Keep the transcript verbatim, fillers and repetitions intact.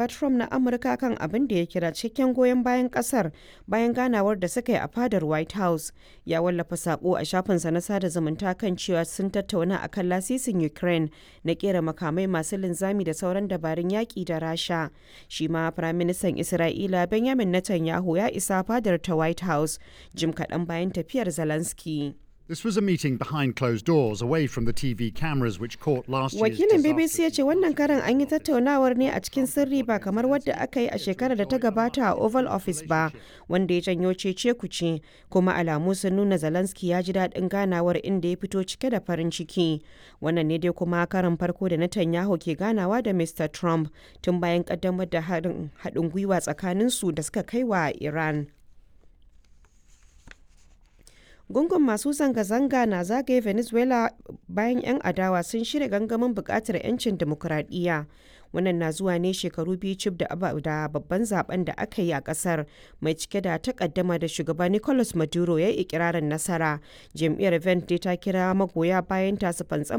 Trump na Amurka kan abin da ya kira "cikakken goyon bayan kasar" bayan ganawar da suka yi a fadar White House, ya wallafa sako a shafinsa na sada zumunta kan cewa sun tattauna akan lasisin Ukraine na kera makamai masu linzami da sauran dabarun yaki da Rasha. Shi ma Firaministan Isra'ila Benjamin Netanyahu ya isa fadar ta White House jim kaɗan bayan tafiyar Zelensky. This was a meeting behind closed doors, away from the T V cameras which caught last year's Wakilin B B C ya disastrous ce wannan karan an yi tattaunawar ne a cikin sirri, ba kamar wadda aka yi a shekarar da ta gabata a Oval Office ba, wanda ya janyo cece kuce. Kuma alamu sun nuna Zelensky ya ji daɗin ganawar, inda ya fito cike da farin ciki. Wannan ne dai kuma karan farko da Netanyahu ke ganawa da Mister Trump tun bayan kaddamar da haɗin gwiwa tsakaninsu da suka kai wa Iran. Gungun masu zanga-zanga na zagaye Venezuela bayan 'yan adawa sun shirya gangamin bukatar 'yancin dimokuraɗiyya. Wannan na zuwa ne shekaru biyu cif da babban zaben da aka yi a kasar mai cike da takaddama da shugaba Nicolas Maduro ya yi ikirarin nasara. Jam'iyyar Vente ta kira magoya bayan ta su fantsama